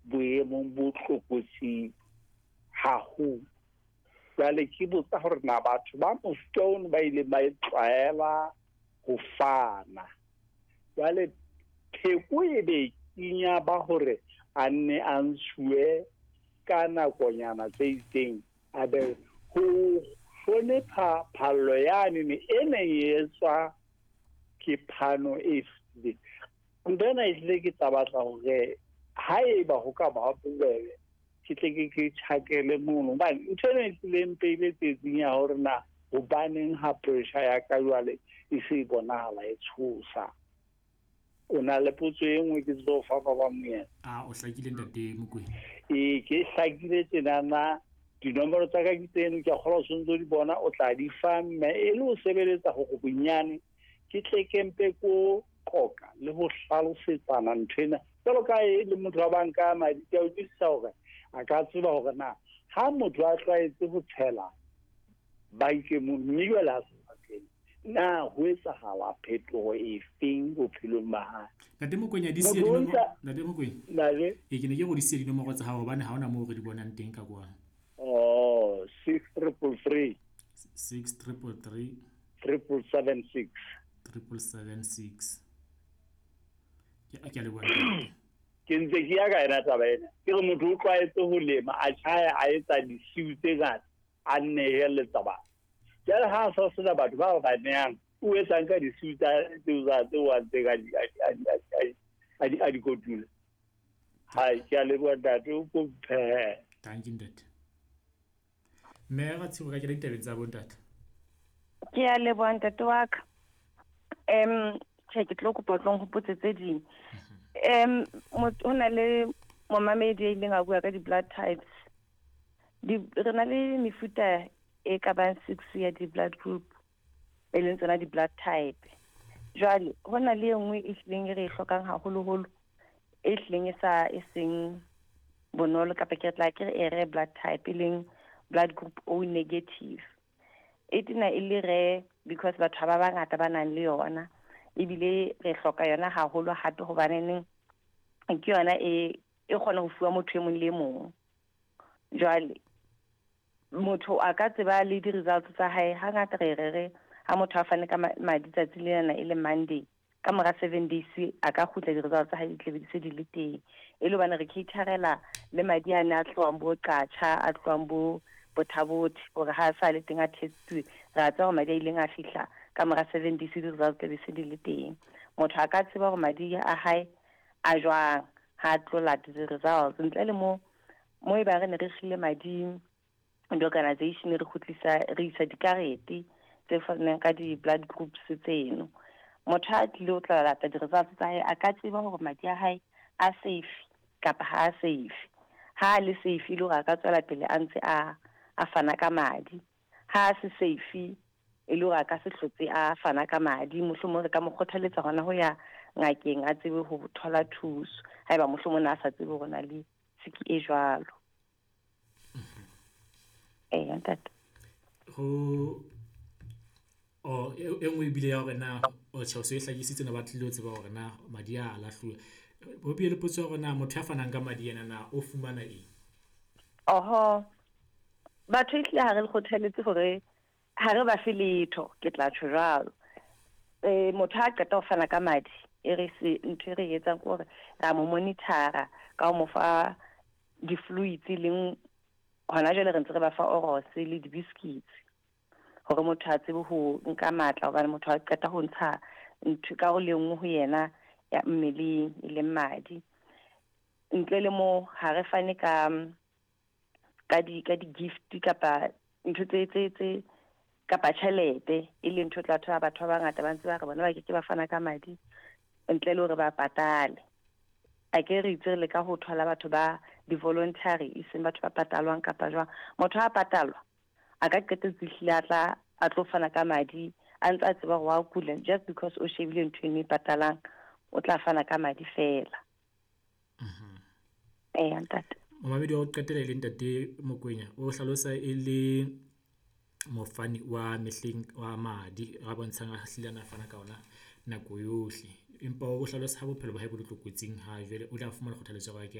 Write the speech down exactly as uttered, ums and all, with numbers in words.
boemong bo tlokotsing haholo. Jwale ke botsa hore na batho ba mofuta ono ba ileng ba e tlwaela ho fana, jwale pheko e be kenya ba hore a nne a ntshuwe ka nakonyana tse itseng, a be ho hlonepha phallo yane ne e neng e etswa ke phano e fetileng. Ntho ena ehlile ke tla batla hore haeba ho ka ba bobebe, ke tle ke ke tjhakele mono, hobane ntho ena e hlile e mpeile tsietsing ya hore na hobaneng ha pressure ya ka jwale e se e bonahala e tshosa. O na le potso e nngwe ke tlo fa ba bang yena? A o hlakile, ntate Mokoena? Ee, ke hlakile tjenana. Dinomoro tsa ka ke tseno, ke a kgolwa o sontso di bona, o tla di fa mme e le ho sebeletsa hore bonyane ke tle ke mpe ko qoqa le ho hlalosetsana nthwena. Jwalo ka e le motho wa banka ya madi, ke a utlwisisa hore a ka tseba hore na ha motho a tlwaetse ho tshela bankeng mono, mme jwale a sa tshele, na ho etsahala phetoho efeng bophelong ba hae? Ntate Mokoena, di siye Motho o dinomoro. ntsa- Ntate Mokoena. Ntate. Ee, ke ne ke go di siye dinomoro tsa hao hobane ha hona moo re di bonang teng ka kwano. Oh, six triple three. Six triple three. Triple seven six. Triple seven six. Ke ke a leboha, ntate. Ke ntse ke ya ka yona taba ena. Ke re motho o tlwaetse ho lema, a tjhaya, a etsa disiu tse ngata, a neheletsa batho. Jwale ha a sa sena batho ba ba nehang, o etsang ka disiu tsa tseo tsa tseo a ntseng a di a di a di a di a di a di kotula? Hai, ke a leboha ntate, o ko mphehe. Thank you, ntate. Mme Ratshigo, ka kena ditabeng tsa bontate. Ke a leboha, ntate wa ka. um tjhe, ke tlo kopa o tlo nhopotse tse ding. um ho na le momamedi a ileng a bua ka di-blood types. Di re na le mefuta e ka bang six ya di-blood group, e leng tsona di-blood type. Jwale ho na le e nngwe e hlileng e re e hlokang haholoholo, e hlileng e sa e seng bonolo, kapa ke tla ke re e rare blood type, e leng blood group O negative. E tena e le rare because batho ha ba bangata ba nang le yona, ebile re hloka yona haholo hape hobaneneng ke yona e e kgona ho fuwa motho e mong le e mong. Jwale motho a ka tseba le di-results tsa hae. Hangata re re re ha motho a fane ka madi tsatsi lena e le Monday, ka mora seven days a ka kgutla, di-results tsa hae di tle di se di le teng, e le hobane re caterela le madi ane a tlohang bo Qacha, a tlohang bo Botha-Bothe, hore ha sa le teng a testuwe, re a tseba hore madi a ileng a fihla ka mora seven days, di-results tla be se di le teng. Motho a ka tseba hore madi a hae a jwang ha a tlo lata di-results. Ntle le mo mo e ba re ne re kgile madi di-organization, re kgutlisa, re isa dikarete tse fanang ka di-blood groups tseno. Motho ha a tlile ho tla lata di-results tsa hae, a ka tseba hore madi a hae a safe kapa ha a safe. Ha a le safe, e le hore a ka tswela pele a ntse a a fana ka madi. Ha a se safe, e le hore a ka se hlotse a fana ka madi, mohlomong re ka mo kgothaletsa hona ho ya ngakeng, a tsebe ho thola thuso haeba mohlomong a sa tsebe hore na le siki e jwalo. Ee, ntate. Ho o e e nngwe ebile ya hore na o tjhe, o se e hlakisitse na ba tlile ho tseba hore na madi a lahluwa. Ho bile le potso ya hore na motho ya fanang ka madi ena na o fumana eng? Oho, batho ehlile ha re le kgothaletse hore ha re ba fe letho, ke tla tjho jwalo. um motho ha qeta ho fana ka madi, e re se ntho e re etsang ke hore ra mo monitor-a ka ho mo fa di-fluids, e leng hona jwale re ntse re ba fa oros le di-biscuits hore motho a tsebe ho nka matla, hobane motho a qeta ho ntsha ntho karolo e nngwe ho yena ya mmeleng, e leng madi. Ntle le mo, ha re fane ka ka di ka di-gift kapa ntho tse tse tse kapa tjhelete, e leng ntho o tla thola batho ba bangata ba ntse ba re bona ba keke ba fana ka madi ntle le hore ba patale. A ke re itse re leka ho thola batho ba di-voluntary, e seng batho ba patalwang kapa jwang. Motho ha patalwa a ka qetetse ehlile a tla a tlo fana ka madi a ntse a tseba hore wa kula, just because o shebile ntho eno e patalang, o tla fana ka madi fela. Eya, ntate. Momamedi wa ho qetela e le ntate Mokoena, o hlalosa e le mofani wa mehleng wa madi a bontshang a hlile a na fana ka ona nako yohle, empa o hlalosa ha bophelo ba hae bo le tlokotsing ha jwale o ile a fumana kgothaletso ya hore a ke